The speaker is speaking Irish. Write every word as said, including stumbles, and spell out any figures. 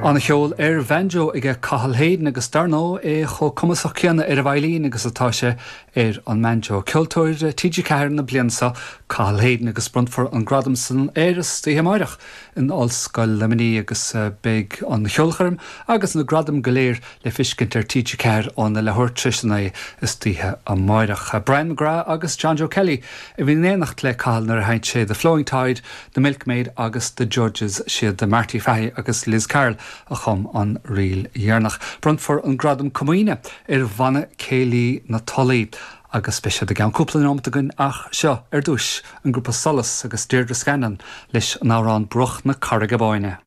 An-cheol ar bhanjo aige Cathal Hayden agus dar ndóigh é chomh cumasach céanna ar an veidhlín agus atá sé ar an mbanjo. Ceoltóir TG Ceathair na bliana seo Cathal Hayden agus bronnfar an gradam san air istoíche amárach in Ollscoil Luimnigh agus eh, beidh an cheolchoirm agus na gradaim go léir le feiscint ar TG Ceathair óna leathuair tar éis a naoi istoíche amárach. Brian McGrath agus John Joe Kelly a bhí in éineacht le Cathal nuair a sheinn sé The Flowing Tide, The Milkmaid agus The Judges siad de Marty Fahey agus Liz Carroll a chum an ríl dheireanach. Bronnfar an gradam comaoine ar bhanna céilí na Tulaí. agus beidh siad i gceann cúpla nóiméad againn ach seo ar dtús an grúpa Solas agus Deirdre Scanlon leis an amhrán Bruach na Carraige Báine.